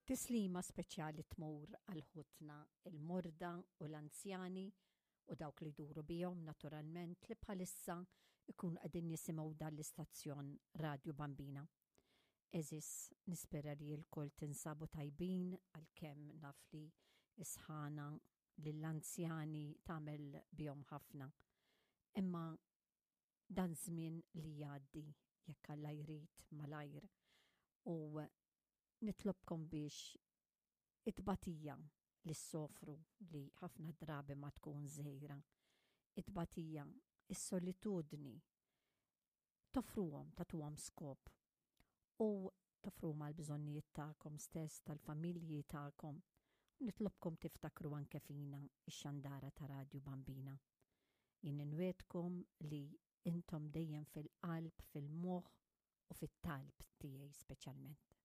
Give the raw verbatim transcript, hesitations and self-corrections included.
Tislima speċjali tmur għal ħutna il-morda u l-anzjani u dawk li jduru bihom, naturalment, li bħalissa ikun qegħdin jisimgħu dan l-istazzjon Radju Bambina. Għeżież, nispera li lkoll tinsabu tajbin, għalkemm naf li s-sħana lill-anzjani tagħmel bihom ħafna. Imma dan żmien li jgħaddi, jekk Alla jrid, malajr, u nitlobkom biex it-tbatija li ssofru, li ħafna drabi ma tkun żgħira, it-tbatija, is-solitudni, toffruhom, tagħtuhom skop u toffruhom għal bżonnijiet tagħkom stess, tal-familji tagħkom. Nitlobkom tiftakru anke fina, ix-xandara ta' Radju Bambina. Jien inwiegħdkom li intom dejjem fil-qalb, fil-moħħ u fit-talb tiegħi speċjalment.